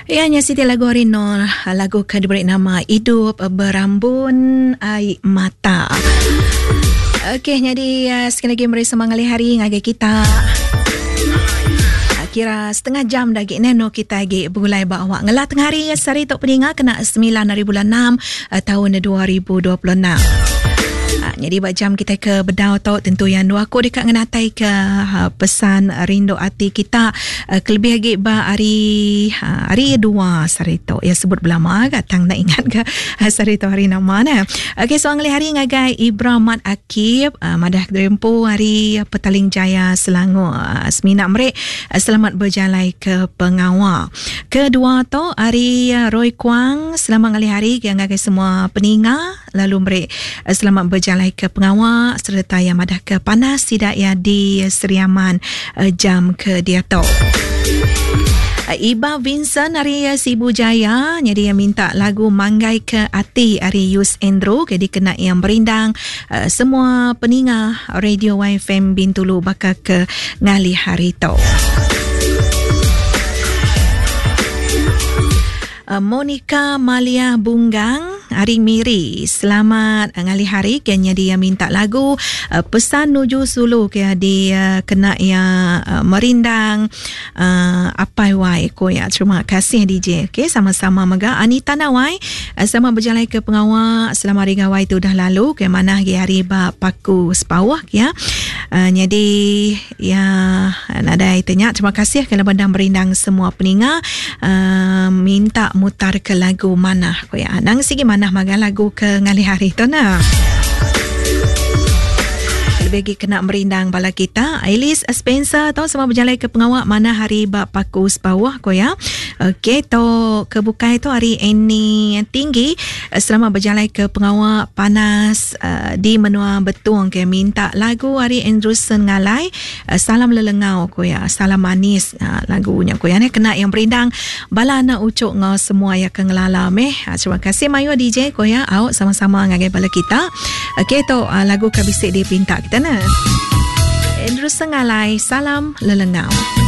Iya nya siti lagu ari Nol, lagu ke diberi nama Idup Berambun Ai Mata. Okey, nyadi eh, sekali lagi meri semangat hari ngagai kita. Ah, kira setengah jam dah agi neno kita agi begulai ba awak ngelah tengah hari sehari tu peninga kena 9 hari bulan 6 eh, tahun 2026. Ah, jadi ba jam kita ke bedau tu tentu yang dua aku dekat ngenatai ke ha, pesan rindu ati kita eh, kelebih lagi ba hari ha, hari dua sehari tu ya sebut belama ga tang nak ingat ke sehari tu hari nama nah. Okey so ngelih hari ngagai Ibra Mat Akib madah kediri empu hari Petaling Jaya Selangor. Semina meri selamat berjalai ke pengawa. Kedua tu ari Roy Kuang selamat ngalih hari ke ngagai semua peninga lalu meri selamat berjalai ke pengawa sereta iya madah ke panas sida iya di Sri Aman jam ke diatu. Iba Vincent ari Sibu Jaya nyadi iya minta lagu Manggai Ke Ati ari Yus Andrew ke dikena iya merindang semua peninga Radio YFM Bintulu baka ke ngalih hari tu. Eh, Monica Malia Bunggang hari Miri. Selamat ngalih hari ke nyadi minta lagu eh, pesan nuju sulu ke di eh, kena ya merindang apai wai ko ya. Terima kasih DJ. Okey, sama-sama mega Anita Nawai sama berjalai ke pengawa selama hari gawai tu dah lalu ke mana hari hari ba Paku Sepauh ya. Jadi ya nadai tanya. Terima kasih kerana bandang merindang semua peninga minta mutar ke lagu manah ko ya. Nang sigi manah maga lagu ke ngalih hari tu nah. Lebih lagi kena merindang bala kita. Elise Spencer tu sama berjalai ke pengawa manah hari ba Paku Sepauh ko ya. Okey tu ke bukai tu hari Annie Tinggi selamat berjalai ke pengawa panas uh, di menua Betung ke minta lagu hari Andrewson Ngalai uh, Salam Lelengau ko ya Salam Manis uh, lagunya ko ya ni kena yang berindang bala anak ucuk ngau semua ya ke ngelala meh uh, terima kasih mayu DJ ko ya au sama-sama ngagai bala kita okey tu uh, lagu ke bisi dipinta kita ne Andrewson Ngalai Salam Lelengau.